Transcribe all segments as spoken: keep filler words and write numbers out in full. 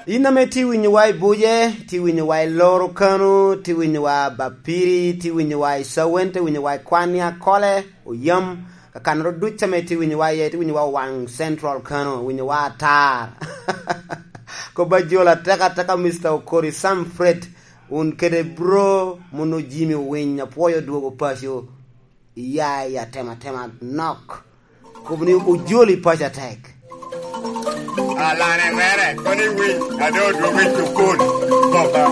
In ame tye winyowa i Buje, tye winyowa i Loro kano, tye winyowa Bapiri, tye winyowa i Cawen, tye winyowa i Kwan i Akole, Oyam, kakanoro duc ame tye winyowa iye, tye winyowa Waŋ Central kano, winyowa atar. Kop a jol atek ateka, Mister Okori Sam Fred, wun kede bro, muno Jimmy Owiny, apwoyo dwogo paco. Iya i atematema nok. Kop ni ojoli paco atek. Alane mere, kono i wic, ade odwogo i cukul. Boka.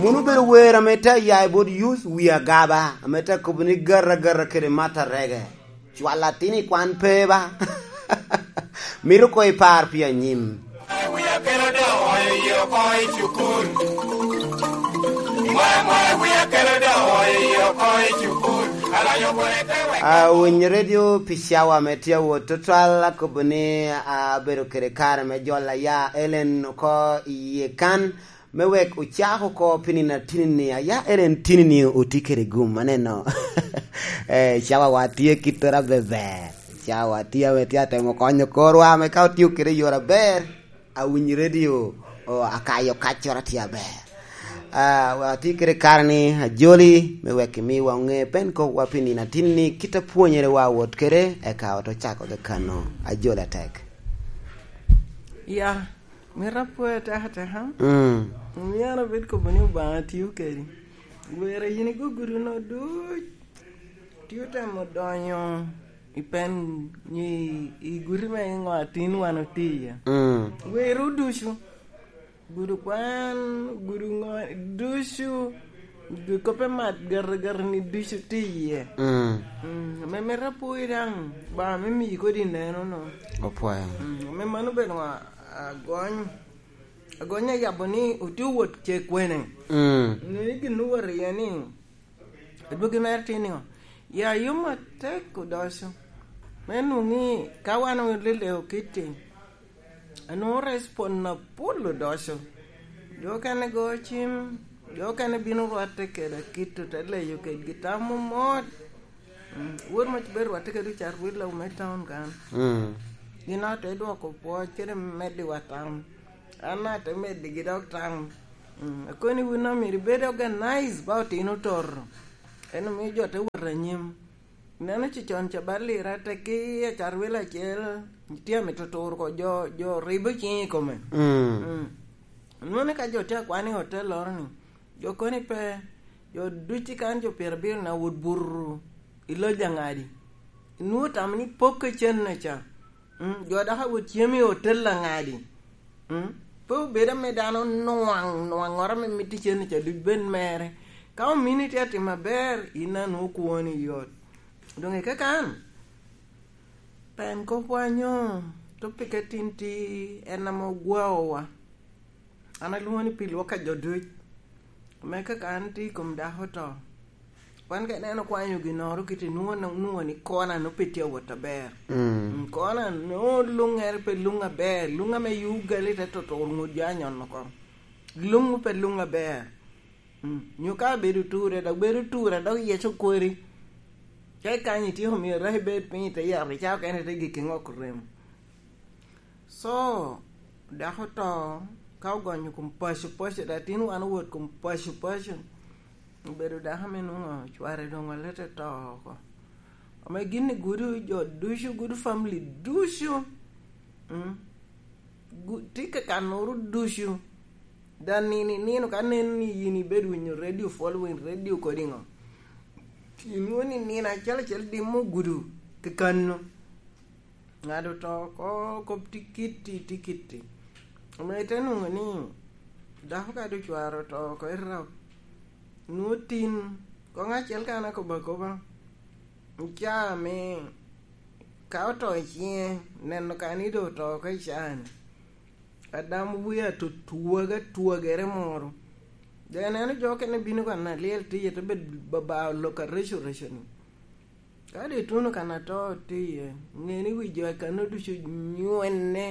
Muno obedo wer ame te ya i bot youth wi agaba, ame te kobo ni garra garra kede mata rege. Cwal atin i kwan pe ba. Mito koŋ ipar pi anyim. Wia kelo doŋo i oko i cukul. Mwe, mwe, wia kelo doŋo i oko i cukul. Alonyo bwone pe wek. A, winyo redio pi cawa me tye awot tutwal, akobo ni, a, abedo kede kare me jolo aya Ellen oko i yie kan. Me wek ocak oko pi nino atinini, aya en en tinini otye kede gum, aneno. Eh, cawawa tye kittere abeber. Cawa tye ame tye atemo konyo korwa, ame ka otio kede i yore aber, awinyo redio, o, akayo kaccoro tye aber. Ah, wa tye kede kare ni ajoli, me wek imiwa oŋe pen kop wa pi nino atinini, kit apwonyere wa wot kede, eka ot ocako kakano. Ajoli atek. Ya, Mito apwoyo atekateka. Mm. Omio an abed kobo ni Obaŋa tio kedi. Wer a yin igo gudo-nu duc, tye otemo donyo i pen nyi, i guti me ŋo atin wan otye iye. Mm. Werwu ducu, gudo kwan, gudo ŋo, ducu, gudo kop me mat garagarani ducu tye iye. Mm. Mm, ame mito apwoyi daŋ, Obaŋa me miyi kodi neno-nu. Opwoyo. Mm, ame mano obedo ŋo, agony. Agony ayabo ni otye wot ce kwene. Mm. Ni gin owot iye ni, adwogi mere tye ni, ya yom atek odoco. Me nwoŋ ni ka wan oleleo kitti, anwoŋo respond apol odoco. Jo okene go cim, jo okene bino rwatte kede akit, ote leyo kedgi tam momot. Mm, wod ma bedo rwatte kede ocat willa me taun kan. Mm. Gin ate dwoko pwoc kede meddiwa tam. An ate meddigi dok tam. Mm, akoni wun omyero ibed organize ba otino toto. En omio jo te wot anyim. Ineno cicon ca ba lira teki acat willa acel, tye amito turo ko jo, jo ribo ciŋ i kome. Mm. Mm. Nwoŋo ni ka jo tye akwano i hotel loro ni, jo koni pe, jo duc i kan jo pyerabiro na wot buto i loc aŋadi. Inwoŋo tamo ni pok ka cen-na ca. Mm, jo dok awot cem i hotel aŋadi. Mm, pe obedo ame dano nwaŋ, nwaŋŋoro ame mito cen-ni ca duc bed mere. Ka omini tye atimo aber, in anwoŋo kwoni yot. Doŋ i kakan, pen kopwa nyo topike tin ti en ame ogwaowa. An alwoŋo ni pi lwok a jo duc. Ame kaka an tye i kom dako oto. Wan ka ineno kwanyo ginnoro kite, nwoŋo, nwoŋo ni kona nwoŋo pe tye awot aber. Mm. Mm, kona nwoŋo luŋere pe luŋ aber, luŋ ame yugali te toto ŋut jo anyon oko. Luŋ pe luŋ aber. Mm, nyo ka bedo ture, dok bedo ture, dok yec okweri. Ka ikanyo ityeko miyo raki bed piny i te yat, icako kene te gik i ŋok rem. So, dako to, ka ogonyo kom paco paco, dok tin wan owot kom paco paco, obedo dako ame nwoŋo cware doŋ olete to oko. Ame gin i gudo jo ducu, gudo family ducu, mm, gu-, tye ka kanoro ducu. Da nino i nino ka nen ni yin ibedo winyo radio following, radio kodi ŋo, inwoŋo ni nino acel acel dimo gudo kakano. Ŋat oto oko kop tikitti, tikitti. Ame ite nwoŋo ni dako ka doŋ cware oto oko i rok, nwoŋo tin, koŋ acel ka an akobo akoba, i caa me ka oto i ciŋe, neno ka ni doŋ oto oko i caa-ni. Adam wie atutwaga twagere moro. Doŋ ineno jo okene bino kan alyel tye iye, te bed baba olok areco reco-ni. Ka doŋ ituno kan ato tye iye, ŋe ni wi jo i kanno ducu nywenne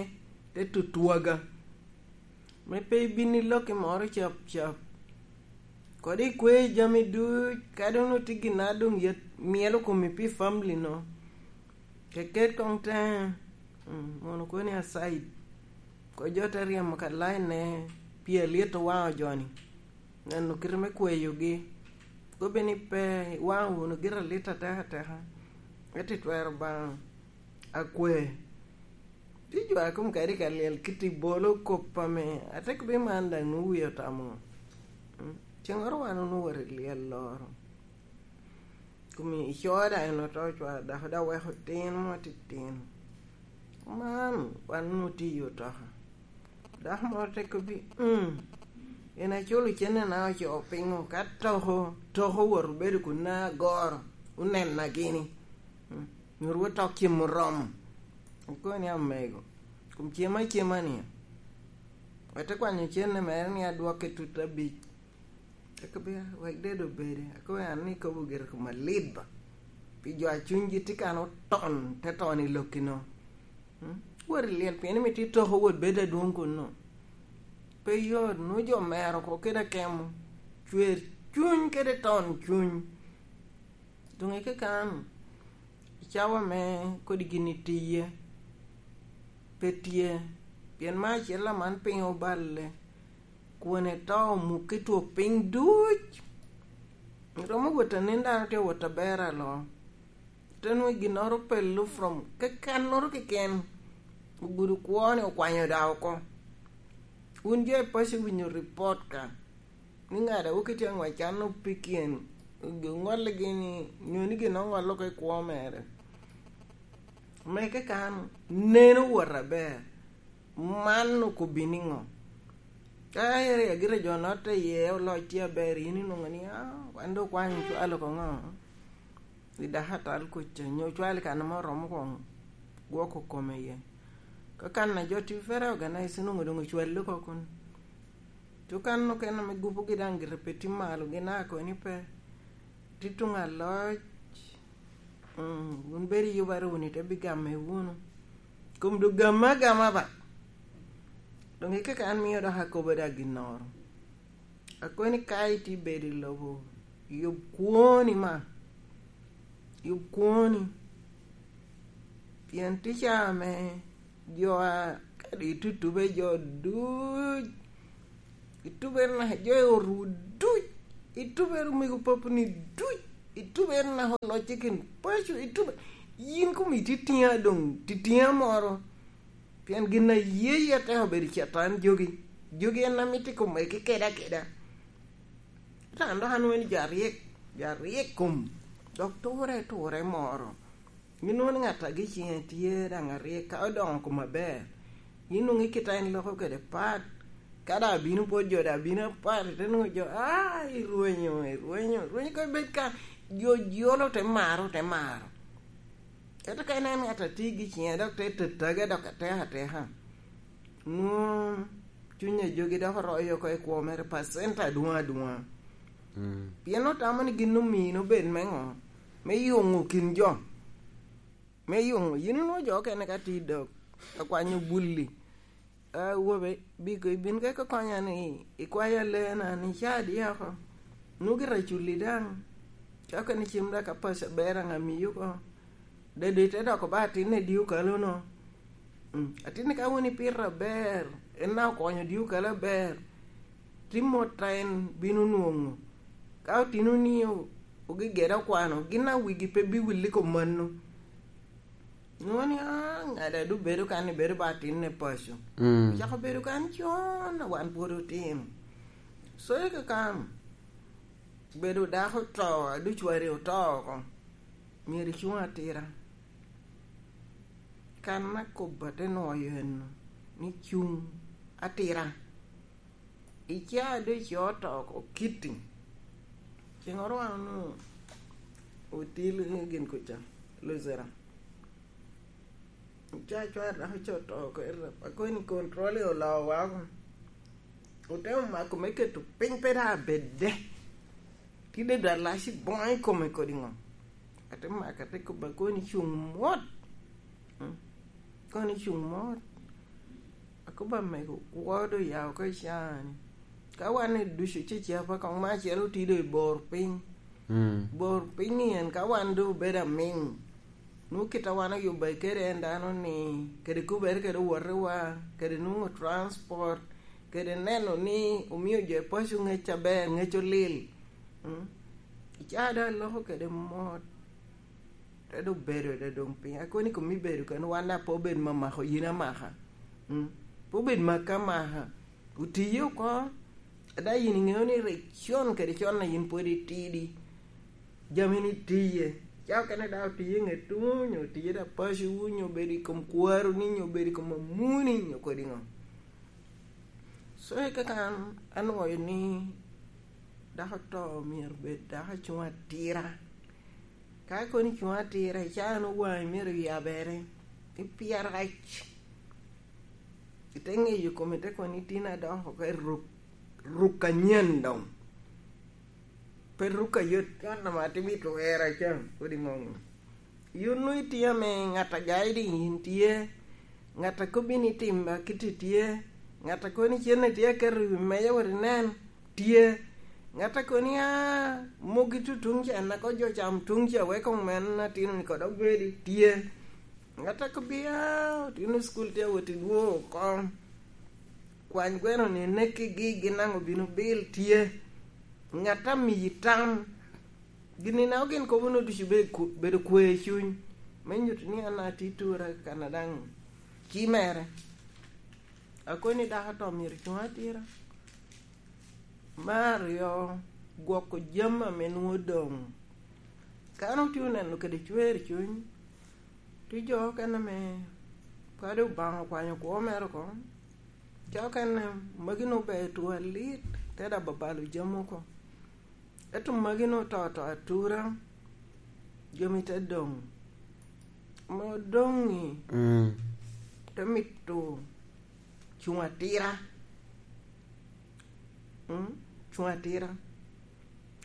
te tutwaga, me pe ibin ilokki moro cap cap. Kodi ikwe jami duc, kadi onwoŋo tye gin a doŋ yet myelo komi pi family no. Keket koŋ te, mm, mono koni asaid. Ko jo te ryemo ka laine pi alyet owaŋo joni. Neno kite me kweyogi. Kobe ni pe iwaŋo wunu gire alit ateka ateka. Ento itwero baŋo akwe. Tye jo a kom kadi ka lyel kit i bolo kop ame atek bi man daŋ nwoŋo wie otamo. Mm. Cengoro wan onwoŋo wot i lyel loro. Kom i coda en oto cwar dako da weko tin mo titino. Man wan onwoŋo tye i otoka. Dako moro te kobbi, "Mm, en aculo cennena ocoo piŋo ka toko, toko wot obedo kun na agoro, onena gini. Mm, myero wot tok cem oromo." Akoni, "Amego, kom cem acema ni." Wete kwanyo cenne mere ni adwokke tut abic. Eka bia, wek dedo obede. Akobo an ni ikobo gire kom alit ba. Pi jo a cunygi tye kan oton, te ton i lokki no. Mm? Wot i lyel, pien imito itoko wot bedo adwoŋ kunno. Pe yot, nwoŋo jo mero oko kede akemo. Cwer cuny kede ton cuny. Doŋ i kekano, i cawa me kodi gin itiye, pe tye, pien me acel aman piny oballe, kwone to omukki two piny duc. Romo wot anen dano tye wot aber alo. Te nwoŋo ginnoro pelo from kekannoro keken, ogudo kwo-ni okwanyo da oko. Wun jo i paco winyo report ka. Ni ŋat a wok itye aŋwac can opikien, oŋolligi ni, nyo ni gin oŋollo oko i kwo mere. Meke kan, neno wot aber. Man okobbi niŋo? Ka area gire jo notte iye, oloc tye aber, yin inwoŋo ni, "Ah, wan dok kwanyo cwalo oko ŋo?" I dako atal kuca, nyo cwalo i kan ame oromo koŋ gwoko kome iye. Ka kan a jo tye fere organize, inwoŋo doŋ ocwalli oko kun. Tukan okene ame gupogi daŋ gire pe tye malo, gin a koni pe. Tye tuŋ aloc. Mm, wun bedo i yuba wunu, ite bigamme wunu. Kom doŋ gamme agama ba. Doŋ i kaka an mio dok akobo da ginnoro. Akoni ka itye bedo i lobo, yub kwoni ma. Yub kwoni. Pien tye ca ame jo a, kadi itutube jo duc, itube naka jo i otwu duc, itube omego papuni duc, itube naka olocce kin paco, itube, yin komi titiŋa doŋ, titiŋa moro. Pien gin a ye, ye ateko bedo Catan jogi. Jogi en a mito i kome kede akeda. Ento an dok anwoŋo ni jo aryek, jo aryek kom, dok ture, ture moro. Yin nwoŋo ni ŋat a gi ciŋe tye daŋ aryek, ka odoŋo kom aber, yin nwoŋo i kite en loko kede pat. Ka daŋ abino pwod jo, daŋ abino apat, ite nwoŋo jo, "Ah, irwenyo, irwenyo, irwenyo." Ka bed ka jo jolo te maro, te maro. Ento ka ineno ŋat a tye gi ciŋe, dok te tatage, dok atek ateka, nwoŋo cuny a jogi dok oroyo oko i kwo mere pacent adwoŋ adwoŋa. Mm. Pien otamo ni gin omino bed me ŋo? Me yuŋo kin jo. Me yuŋo. Yin inwoŋo jo okene ka tye i dok, ka kwanyo bulli. "Ah, wobe, biko ibin ka ikokonya ni ikwayo alena ni ca adi oko? Nwoŋo gira culi daŋ. Ka okene cem daŋ ka paco aber aŋa miyo oko? Dede ite doko ba atinne di okalo no?" Mm. Atinni ka wun ipito aber, en na okonyo di okalo aber, tye mot a en bino nwoŋo. Ka otino ni o-, ogigede okwano, gin a wigi pe biwilli kom mano. Nwoŋo ni, "Ah, ŋada du bedo kan ni bedo ba atinne paco." Mm. Ocako bedo kan con, a wan pwod otino. So, i kakan, bedo dako oto, a ducu wari oto oko, myero icuŋ atira. Kan akobo ate nwoyo eno, ni cuŋ atira. Ica doŋ ico to oko kiti. Ceŋoro wan onwoŋo otil i gin kuca, Luzira. Ica cwar dok ico to oko, ira, akoni control i olowa oko. Otemo mako me keto piny pe daŋ abedde. Tide daŋ lac i boŋo i kome kodi ŋo? Ate mako, ate kobo, akoni cuŋ mot. Mm. Akoni cuŋ mot. Akobo, "Amego, kwo doŋ ya oko i caa-ni." Ka wan ducu cecapa koŋ me acel otye doŋ i bor piny. Mm. Bor piny ni en ka wan doŋ obedo amiŋ, nwoŋo kit a wan oyubbe kede en dano ni, kede kubere kede owotewa, kede nwoŋo transport, kede neno ni omio jo i paco ŋec aber, ŋec olil. Mm? I caa doŋ aloko kede mot, te doŋ bedo doŋ piny. Akoni kom ibedo kene, wan daŋ pe obed mamako yin amaka. Mm? Pe obed maka amaka. Otiye oko, ada yin iŋeo ni rik con kede con a yin pwod itidi, jami ni tiye. Ca okene daŋ otiye i ŋe tuŋ, nyo otiye daŋ paco, nyo obedo i kom kwaro ni, nyo obedo i kom amuni, nyo kodi ŋo. So, i kaka an anwoyo ni dako to myero bed dako cuŋ atira. Ka kono cuŋ atira, i caa no waŋi myero yabere, ipyerac. Ite ŋeyo kome, ite kono itino adoko oko i ruk, ruk anyen doŋ. Pe ruk ayot, kan ama atimo i twera ca, kodi ŋoŋo. Yun nwoŋo itye ame ŋat a guiding in tye, ŋat a kobbi ni tim akiti tye, ŋat a koni cen a tye aketo i wi meja wot inen tye, ŋat a koni a mogi tutuŋ ca, nako jo cam tuŋ ca, wek omen atino ni kod obedi tye, ŋat a kobbi a otino cukul tye awot i dwo oko, kwany gweno ni nekigi gin aŋo bino bil tye, ŋat a miyi tam. Gin-ni na ogin kobo no ducu bedo ku-, bedo kwe i cuny, me nyuto ni an atye i tura kan a daŋ ci mere. Akoni dako to myero cuŋ atira. Me aryo, gwoko jami ame nwoŋo doŋ. Ka an otye oneno kede cwer i cuny, tye jo okene ame kadi Obaŋa okwanyo kwo mere oko, ca okene magi nwoŋo ber two alit, te daŋ babalo jami oko. Ento magi nwoŋo to to atura, jami te doŋ. Ame odoŋ-ŋi, mm, te mito cuŋ atira. Mm, cuŋ atira.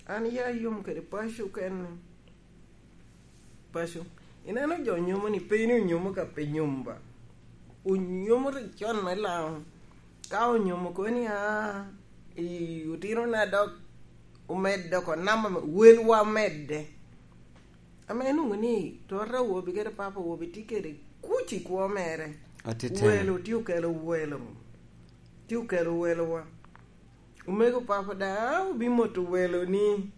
An ya yom kede paco kene. Paco. Ineno jo nyomo ni pe ni onyomo ka pe nyom ba. Onyomo rik con me Laŋo. Ka onyomo kono ni, "Ah, i otino na dok omedde oko namba me welwa omedde." Ame nwoŋo ni tota awobi kede papa awobi tye kede kuc i kwo mere. Atiteni. Welo tye okelo welo. Tye okelo welowa. Omego papa daŋ obimoto welo ni,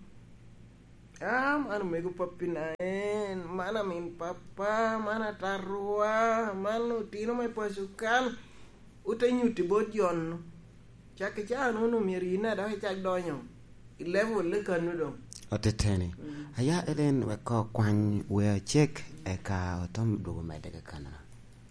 "Ah, man omego pappi na en, man amin papa, man atarwa, man otino me paco kan." Ote nyutti bot jo-nu. Cak i caa-nu onwoŋo myero yin daŋ dok icak donyo i level-le kan-nu doŋ. Oteteni. Mm. Aya Ellen, wek ko kwany wea cek, eka otom dwogo medde kakana.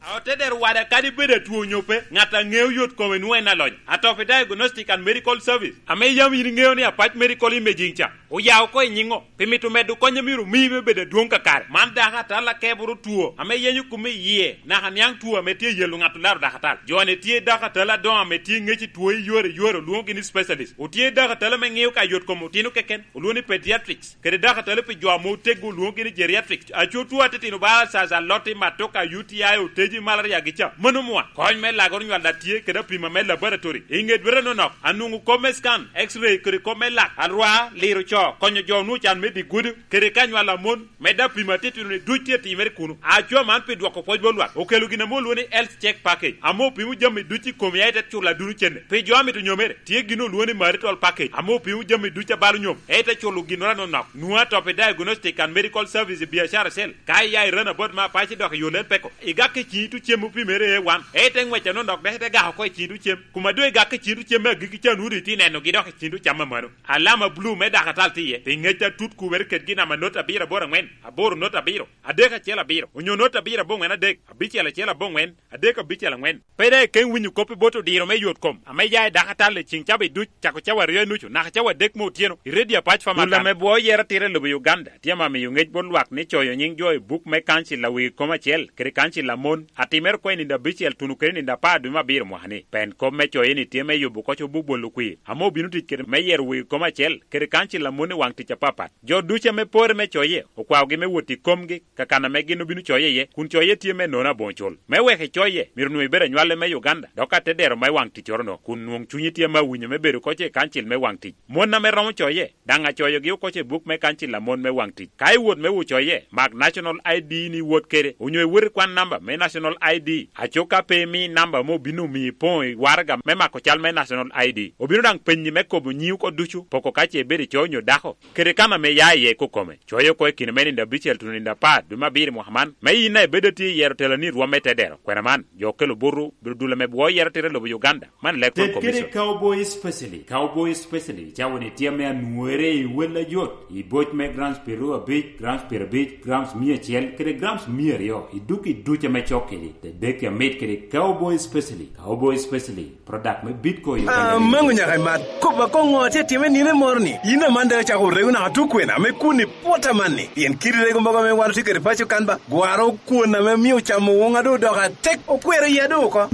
A ote dero wada kadi bed atwo onyo pe, ŋat a ŋeo yot kome nwoŋo en alony. Atopi Diagnostic and Medical Service, ame yam yin iŋeo ni Apac Medical Imaging ca, oya oko i nyiŋo, pi mito medo kony a myero omi me bedo adwoŋ kakare. Man dako atal akeboro two ame yenyo kome i yie, naka niaŋ two ame tye yelo ŋat olaro dako atal. Jo-ni tye dako atal adoŋo ame tye ŋec i two i yore i yore, olwoŋogi ni specialist. Otye dako atal ame ŋeo ka yot kom otino keken, olwoŋo ni pediatrics. Kede dako atal pi jo ame oteggo, olwoŋogi ni geriatrics. Aco two atitino ba, ulcers, aloti, matoka, U T I, oteji, malaria gi ca. Mano mwa. Kony me lagoro nywal daŋ tye, kede apima me laboratory. I ŋe dwete nonok, anwoŋo kop me scan, X-ray, kede kop me lak, alwa, liro co, konyo jo onwoŋo can me dye gudo, kede ka nywal a mon, medde apima atitino ni duc tye timere kuno. Aco man pi dwoko pwoc bot lwak, okelo gin ame olwoŋo ni health check package, ame opimo jami duc i komi, aye te culo aduno cente. Pi jo amito nyomere, tye gin olwoŋo ni marital package, ame opimo jami duc a balo nyom, aye te culo ginnoro anonok. Nwoŋo Atopi Diagnostic and Medical Service i biacara cell. Ka iya i Ranabout me Apac idok i yo Lel Peko, igak i ciŋi tuŋ cem opimere A one, aye te ŋwec anonok dok ite gak oko i ciŋi tuŋ cem. Kuma doŋ igak i ciŋi tuŋ cem me agikki ca, nwoŋo doŋ itye nenogi dok i ciŋi tuŋ cam amanno. Alama blue me dako atal tye iye, pi ŋec atut kubere kedgi namba not abiro aboro aŋwen, aboro not abiro, adek acel abiro, onyo not abiro aboŋwen adek, abicel acel aboŋwen, adek abicel aŋwen. Pe daŋ ikeŋ winyo kop i bot odiro me yot kom ame ya i dako atal i ciŋ cabit duc, cako cawa aryo i nucu naka cawa adek me otyeno, i Radio Apac Pharmacy. Dul ame bwoo yero atira i lobo Uganda tye ame miyo ŋec bot lwak ni coyo nyiŋ jo i buk me kancil a wegi kom acel kede kancil a mon Atimere oko i nino abicel tuno kede nino apar dwe me abiro mwaka-ni. Pen kop me coye-ni tye me yubo oko cobuk bolo kwir, ame obino tic kede me yero wegi kom acel kede kancil a mon i waŋ tic apapat. Jo ducu ame pore me coye, okwaogi me wot i komgi, ka kan ame gin obino coye iye, kun coye tye me nono aboŋo cul. Me wek icoye, myero onwoŋo ibed anywale me Uganda, dok atedero me waŋ ticcoro-no, kun nwoŋ cunyi tye ame awinyo me bedo oko i kancil me waŋ tic. Mon ame romo coye, daŋ acoyogi oko i buk me kancil a mon me waŋ tic. Ka iwot me wot coye, mak National I D ni iwot kede, onyo iwot i kwan namba me National I D. Aco ka pe imi namba ame obino omiyi ipoŋo i waraga me mako cal me National I D, obino daŋ penyi me kobo nyiŋi oko ducu, poko ka ce ibedo ico onyo dako, kede kan ame ia iye i kokome. Coye oko i kine me nino abicel tuno nino apar dwe me abiro i mwaka man, me yin a ibedo atye i yero teloni i rwom me tedero. Kwena man, jo okelo buto, bino dul ame bwo yero tito i lobo Uganda. Man leb kom Ted kede Commission. Cowboy Specialty. Cowboy Specialty, cawa-ni tye ame anwere i wel ajot, i boc me grams pyeraryo abic, grams pyerabic, grams mia acel, kede grams mia aryo, i duk i duc ame cok kedi, te dek amit kede Cowboy Specialty. Cowboy Specialty, product me Bitco Uganda Limited. Amango nyaka imat. Kop akoŋo atye time nino moro-ni? Yin aman daŋ icako orego naka tukwena me kun i pwot amanni. Pien kidi rego mogo ame wan otye kede paco kan ba, gwaro kwon ame mio camo woŋa doŋ odoko atek, okwero iya doŋ oko.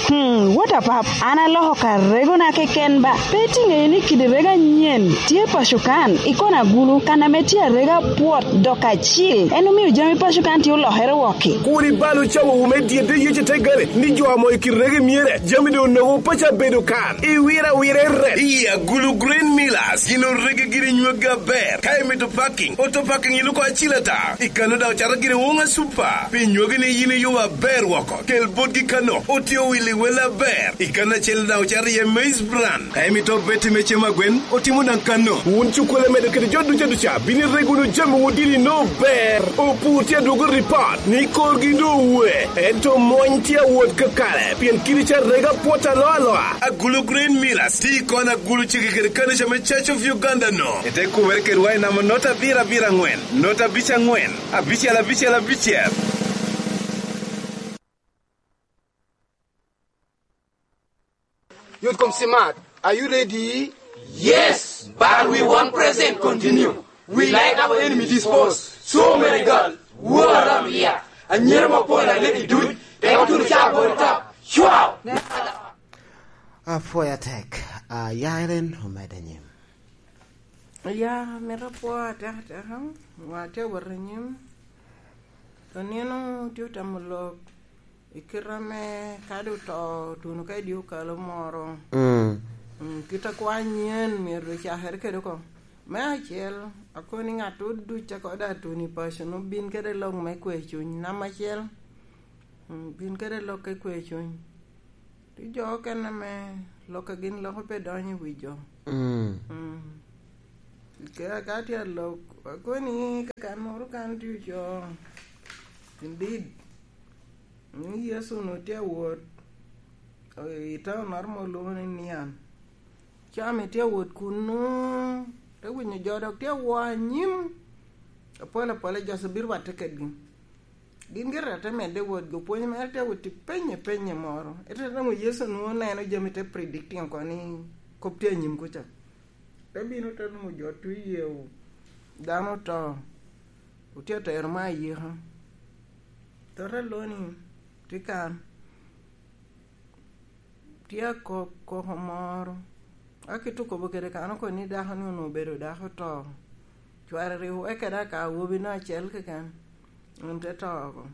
Hmm, what a pap. An aloko ka regona keken ba. Pe itiŋ ŋeyo ni kidi rego anyen tye paco kan, i kona agulu, kan ame tye arega pwot dok acil. En omio jami paco kan tye olokere wokki. Kur ibal ocawowu me dyedde yec i te gare, ni jo amo i kidi rego myere, jami doŋ onogo paco abedo kan. Iwiro awira i rep. I agulu Green Millers, gin orege giri nywagi aber. Ka imito parking, auto parking iluko acil ata. I kano daŋ ocato gire woŋa super. Pi nywagi ni yin iyubo aber woko. Kel botgi kano, otye owil i wel aber. I kano acel daŋ ocato iye maize bran. Ka imito beti me cem agwen, otimo daŋ kano. Wun cukwele medo kede jo duca duca, bino irego wunu jami wun dini no ber. Opur tye adwogo ripot, ni korgi no owe. Ento mony tye awot kakare, pien kidi ca rega pwot aloa aloa. Agulu Green Millers, ti kon agulu cege kede kanica me Church of Uganda no. Ete kubere kedwa i namba not abiro abiro angwen, not abic angwen, abicel abicel abicel. Youth Kom Smart, are you ready? Yes, but we want present continue. We like our enemy dispose. So many girls, war around here. Anyira mapol aleki duc, te oturo ca bol top. Chwao! Apwoyo atek. Ah, ya Ellen, omedde nyim. Ya, mito apwo atek ateka. Wa tye awot anyim. Onino tye otamo lok i kite ame kadi oto tuno ka i dye okalo moro. Mm. Mm, kit akwa anyen myero ocakere kede oko. Me acel, akoni ŋat duc a kode atuno i paco-nu bin kede lok me kwe cuny. Namba acel, mm, bin kede lok me kwe cuny. Tye jo okene ame lok a gin loko pe donyo i wi jo. Mm. Mm. Ke-, ka tye alok, akoni kakan moro kan tye ocoo. Indeed. Ni Yecu onwoŋo tye awot, eh, i taun moro ma olwoŋo ni Nian. Ca ame tye awot kunnu, te winyo jo dok tye awo anyim. Apol apol jo bino rwatte kedgi. Gin gire te medde wotgi, opwony mere te wot i penye penye moro. Ete nwoŋo Yecu nwoŋo neno jami te predicting oko ni kop tye anyim kuca. Te bino te nwoŋo jo tye yeo, dano oto, otye atero me ayika. Tota loni tye kan. Tye akok koko moro. Ka kit okobo kede kan oko ni dako ni onwoŋo obedo dako oto. Cware rik oweke dok ka awobi no acel keken. En te to oko.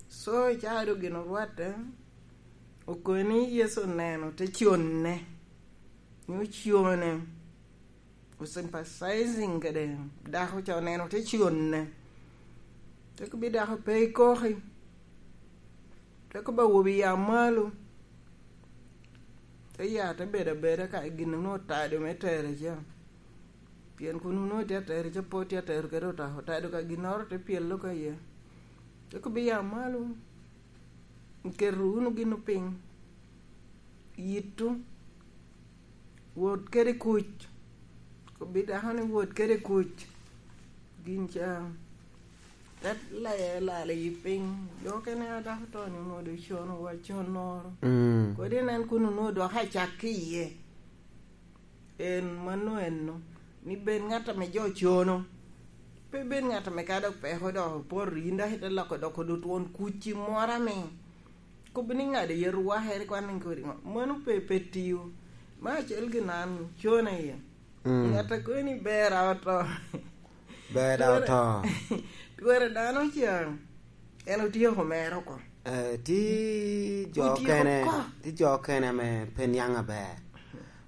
So, i caa doŋ gin orwatte, okoni Yecu oneno te conne. Ni ocone. Osympathizing kede dako ca, oneno te conne. Te kobbi dako pe ikoki. Te kobbi awobi ya malo. Te ya te bedo abeda ka gin onwoŋo otado me tere ca. Pien kun onwoŋo tye atero ca, pe tye atero kede otado, otado ka ginnoro te pyelo ka iye. Te kobbi ya malo. Iketo wunu gin piny. Yitto. Wot kede kuc. Kobbi dako ni wot kede kuc. Gin ca. Te leye lal i piny. Jo okene a dako to ni onwoŋo doŋ cono wa con noro. Mm. Kodi nen kun onwoŋo dok acak ki iye. En mano eno. Ni bed ŋat ame jo cono. Pe bed ŋat ame ka dok peko dok opoto, yin dok ite loko doko dot won kuc i moro ame kobbi ni ŋade yet wakere kwan ni kodi ŋo. Mano pe, pe tiyo. Me acel gin an cona iye. Mm. Ŋat a kono ni ber a oto. Ber a oto. Twere dano ca, en otyeko mere oko. Eh, tye jo Otyeko okene, oko. Tye jo okene ame pe niaŋ aber.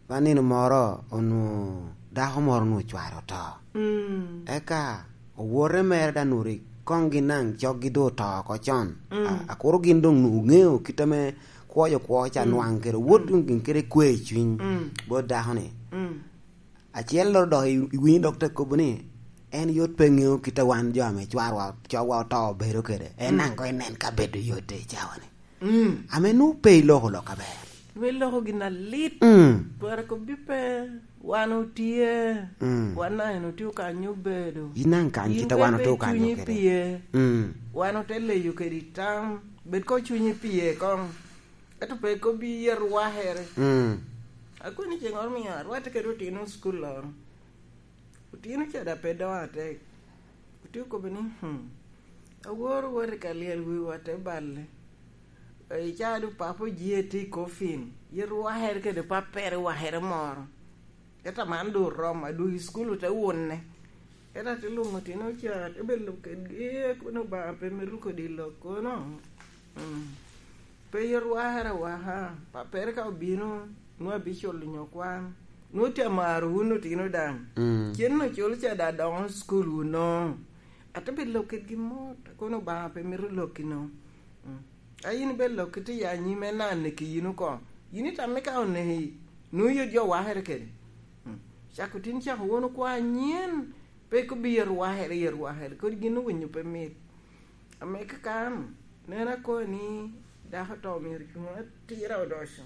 Ba nino moro onwoŋo dako moro onwoŋo cware oto. Mm. Eka owote mere da nuri koŋ gin naŋ coggi doŋ oto oko con. Mm. A-, akuro gin doŋ nu-, ŋeo kit ame kwoyo kwo ca Mm. nwaŋ kede owot Mm. doŋ gin kede kwe i cwiny Mm. bot dako-ni. Mm. Acel loro dok i-, iwinyo dok te kobo ni, en yot pe ŋeo kit a wan jo ame cwarwa, cogwa oto obedo kede. En Mm. naŋ koŋ inen ka bedo yot i cawa-ni. Mm. Ame nwoŋo pe iloko lok aber. Nwoŋo iloko gin alit. Mm. Twara kobbi pe, wan otye, Mm. wan naŋ en otye kanyo obedo. In naŋ kany Yin kit a wan pe otye kanyo cunyi kede. Pye. Mm. Wan ote leyo kede tam, bed ko cunyi pye koŋ. Ento pe kobbi yet wakere. Mm. Akoni ceŋ oro mio arwatte kede otino cukul loro. Otino ca da pe doŋ atek. Otye okobo ni, "Hmm, aworo wot i ka lyel wiwa te balle. Icaa du papa oji tye i kofin, yet wakere kede papere wakere moro. Ento man du oromo, adwogo i cukul ote wune." Ento ate lwoŋo otino ca, ate bedo kedgi, kono Obaŋa pe mito kodi lok kono. Mm. Pe yot wakere awaka, papere ka obino, nwoŋo abiculo nyo kwan. Nwoŋo tye amaro wun otino daŋ. Mm. Cen ocul ca da doŋo cukul wun no. Ate bed lok kedgi mot, kono Obaŋa pe mito lokki no. Mm. A yin ibed lok kiti ya anyim en na aneki yin oko. Yin itamme ka oneki, nwoŋo yot jo wakere kede. Mm. Cako tin cako won okwa anyen, pe kobbi yet wakere, yet wakere. Kodi gin owinyo pe mit. Ame kakan, nen akoni dako to myero cuŋ atira odoco.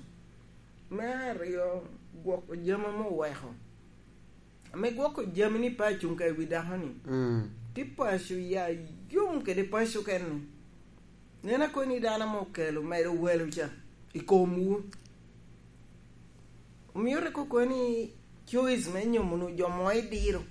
Me aryo, gwoko jami ame oweko. Ame gwoko jami ni pe acuŋ ka i wi dako-ni. Mm. Ti paco ya yom kede paco kene. Nen akoni dano ame okelo medo welo ca i komwu. Omio rik okoni choice me nyomo nu jo mo idiro.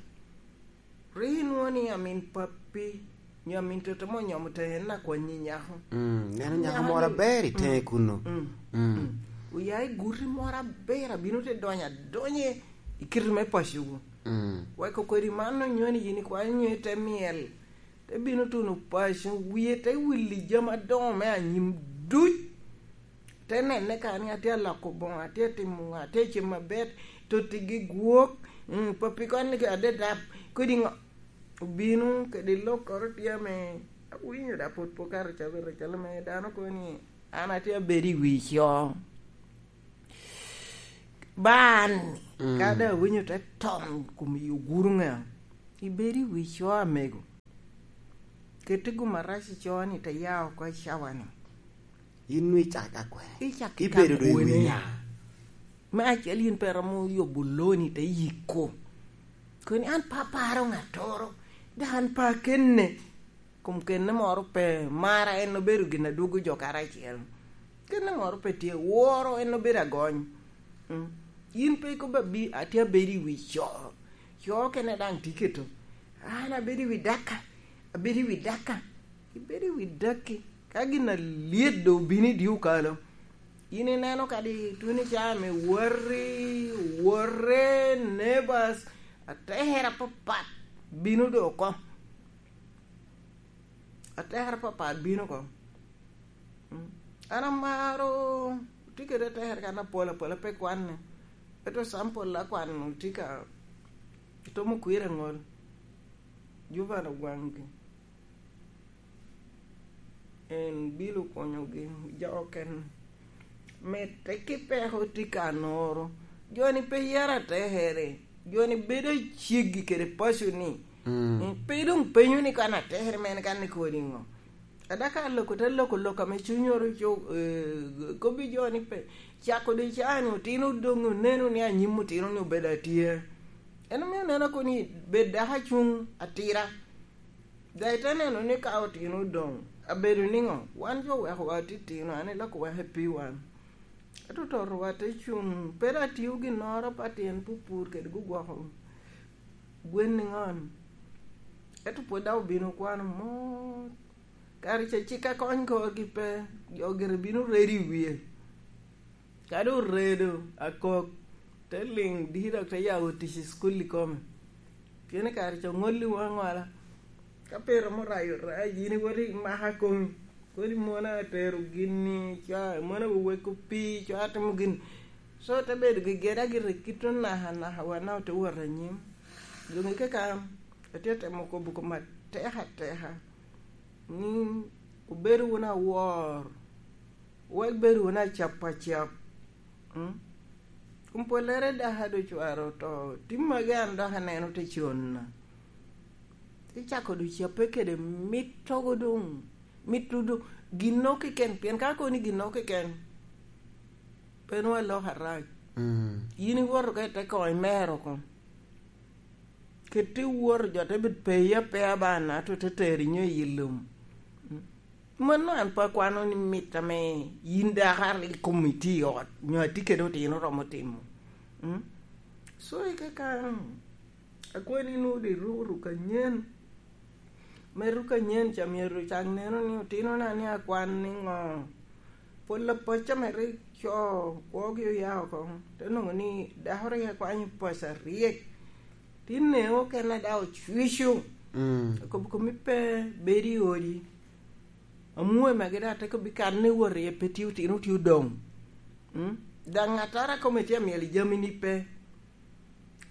Rik inwoŋo ni amin pappi, nyo amin toto mo onyomo te en akwanyi nyako. Mm, neno nyako Nyako moro ni aber i teŋe Mm. kunno. Mm. Mm. Mm. Oya i guti moro aber, abino te donyo adonye i kite me pacowu. Mm. Weko kodi man onyo ni yin ikwanyo nyo ite myel, te bino tuno paco, wie te wili jami adoŋo me anyim duc. Te nene ka ni atye aloko boŋo, atye atimo ŋo, atye acem aber, totigi gwok, mm, papi kon ni adedap, kodi ŋo. Obino kede lokkoro tye ame awinyo da pwod pe okato cabit acalo me dano kono ni an atye abedo i wi co. Ban, Mm. ka da awinyo te tom kom i oguro ŋa, ibedo i wi co amego. Keti gum arac i co ni te ya oko i cawa-ni. Yin nwi cak ka kwene. Icak Ibedo ka doŋ i wi kwene. Nya. Me acel yin pe romo yubo loni te yiko. Koni an pe aparo ŋattoro, dok an pe akenne. Kom kenne moro pe, mara en obedo gin adwogo jo karacel. Kenne moro pe tye, woro en obedo agony. Mm. Yin pe ikobo abi-, atye abedo i wi co. Co kene daŋ tye keto. An abedo i wi daka, abedo i wi daka, ibedo i wi daki. Ka gin alyet doŋ obino i dye okalo, in ineno kadi tuno i caa me wati, wote, neighbors, atera apapat bino doŋ oko. Atera apapat bino oko. Mm. An amaro, tye kede atera kan apol apol, pe kwanne. Ento sample akwano tye ka tomo kwira aŋol. Juvan Ogwangi. En bilo konyogi, jo okene. Mitte ki peko tye ka noro. Jo-ni pe yero atekere. Jo-ni bedo aceggi kede paco-ni. Mm. Mm, pe doŋ penyo ni kan atekere mene kan ni kodi ŋo. Ada ka loko te loko lok ame cuny oro co-, eh, kobbi jo-ni pe. Cako di caa-ni otino doŋ oneno ni anyim otino-ni obedo atye. En omio neno koni bed dako acuŋ atira. Daŋ ite neno ni ka otino odoŋ, abedo niŋo? Wan jo wekowa titino, an iloko weko i pi wan. Ento totowa te cuŋ, pe dok atio ginnoro pa tyen pupur kede gugwoko gwen niŋon. Ento pwod daŋ obino kwano mot. Kare ca cik akony korgi pe, jo gire bino redo i wie. Kadi oredo akok, te liŋ diki dok te yabo tic i cukul ikome. Pien i kare ca oŋolli waŋ ŋola. Ka pe iromo rayo rac, yin iwoti imaka komi. Kodi mon a tero gini, cwa, mon a weweko pii, cwa timo gini. So, te bedo gegeda gire kit onaka naka wa na ote wot anyim. Doŋ i kaka, atye temo kobo koma teka teka. Ni, obedo wunu awor. Wek bedo wunu acap acap. Mm? Kun pwollere daka do cware oto, tim magi an dok aneno te conna. Icako do cappe kede mittogo doŋ, mitto doŋ, ginno keken, pien ka koni ginno keken, pe nwa lok arac. Mm. Yin iwoto ka ite koŋo imero oko. Kit iwoto jo te bit peye apea ba na to te teri nyo i lum. Mm. Mano an pe akwano ni mit ame yin dako a rik kom itye i ot, nyo atye kede otino romo timo. Mm? So, i kaka, akwe ni nwoŋo di ruk, ruk anyen. Me ruk anyen ca myero cak neno ni otinona ni akwan niŋo. Pol apacca me rik co kwogi oya oko, te nwoŋo ni dako rik akwanyo paco aryek. Tin neo okene daŋ ocwico. Mm. Akobo komi pe bedo i odi. Amwoe magi daŋ te kobbi kan ni wot iye pe tye otino tye odoŋ. Mm? Daŋ ŋattara kome tye amyel i jami ni pe.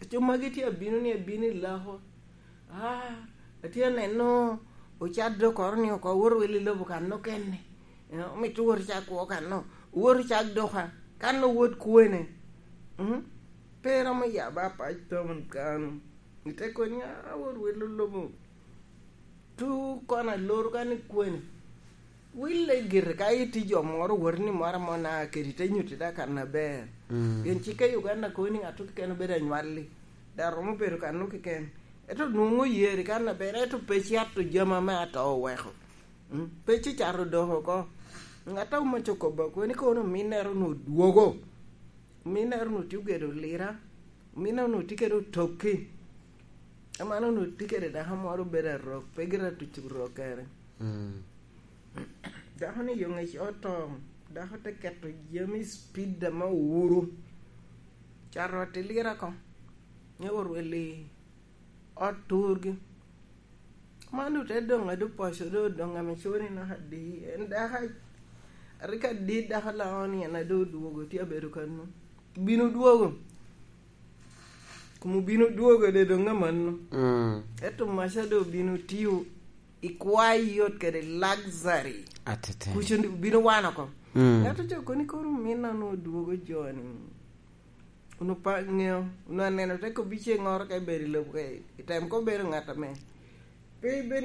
Aco magi tye abino ni abino i lako. Ah, atye aneno ocat dokoro ni oko wot wel i lobo kan okene. Eh, omito wot cak kwo kan no. Wot cak doka. Kan no wot kwene. Mm? Pe romo yaba apac tomon kano. Ite koni, "Ah, wot welo lobo." Tu kono aloro kan i kwene. Wille gire ka itye jo moro wot ni moro amo na kedi te nyutti da kan aber. Mm. Pien cik i Uganda koni ŋat keken obedo anywalli. Da romo bedo kan keken. Ento nwoŋo yeri kan aber, ento pe cato jami ame ato oweko. Mm. Pe ci cato doko oko. Ŋat a omaco kobba koni kono ominnere onwoŋo dwogo. Ominnere onwoŋo tye ogedo lira. Ominnere onwoŋo tye kede otokki. Aman onwoŋo tye kede dako moro obedo arok, pe gira tuco rok kere. Mm. Dako ni yo ŋec oto, dako te keto jami i speed ame owuro. Cato ot i lira oko. Nyo orwel i ot turgi. Man ote doŋ adu poco do doŋ ame coni naka adi. En dako a rik adi dako laŋo ni en adu odwogo tye abedo kano. Bino dwogo. Kom obino dwogo de doŋ amanno. Mm. Ento maca do obino tiyo i kwayi yot kede luxury. Atete. Kuc obino wano oko. Mm. Ento jo koni kono min anu odwogo joni. Unu pa ŋeo, unu aneno te kobbi ceŋ oro ka ibedo i lobo ka i tem ko bedo ŋat ame. Pe ibed